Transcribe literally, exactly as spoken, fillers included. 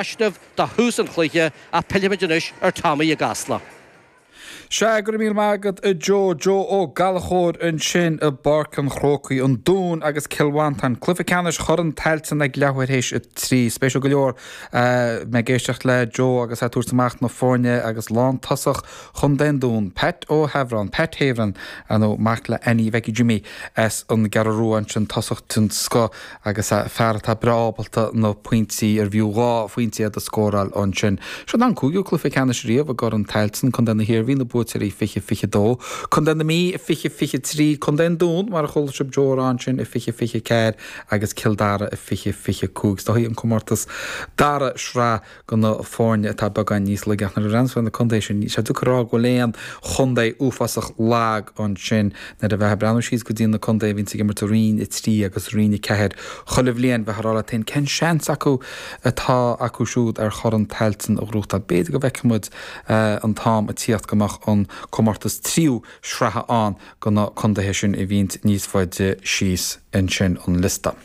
Taisneamh do thús an chluiche ach pillfimid anois ar Tommy i gCasla. Sea, go raibh míle maith agat a Joe, Joe Ó Gallchóir ansin i bPáirc an Chrócaigh, an Dún agus Cill Mhantáin. Cluiche ceannais Chorn Tailteann ag leathuair théis a trí. Spéisiúil go leor mé ag éisteacht le Joe agus é ag tabhairt amach na foirne agus lántosach Chontae an Dúin, Pat Ó hEamhráin, Pat Heavrin, ar ndóigh, mac le Annie Bhecky Jimmy as an gCeathrú Rua ansin, tosach den scoth agus fear atá breá ábalta na pointí, ar bhfiú dhá phointe iad a scóráil ansin. Seo an cúigiú cluiche ceannais riamh i gCorn Tailteann, Contae na hIarmhí, na buaiteoirí fiche fiche dó, Contae na Mí fiche fiche trí, Contae an Dúin, mar a chuala sibh Joe a rá ansin, i fiche fiche ceathair agus Cill Dara i fiche fiche cúig. Is dóigh an comórtas dara sraith do na foirne atá beagán níos laige ach nuair a bhreathnaíonn tú ar na contaetha sin, níl sé deacair a rá go bhfuil aon chontae uafásach lag ansin. Nuair a bheifeá ag breathnú síos go dtí na contaetha a bhíonns ag imirt i Roinn a trí agus Roinn a ceathair chuile bhliain, bheifeá ag rá leat féin cén seans acu atá acu siúd ar Chorn Tailteann a ghnóthachtáil. B'fhéidir go bhfeicfidh muid an t-am ag tíocht go mbeadh an comórtas tríú sraithe ann do na contaetha sin a bhíonns níos faide síos ansin an liosta.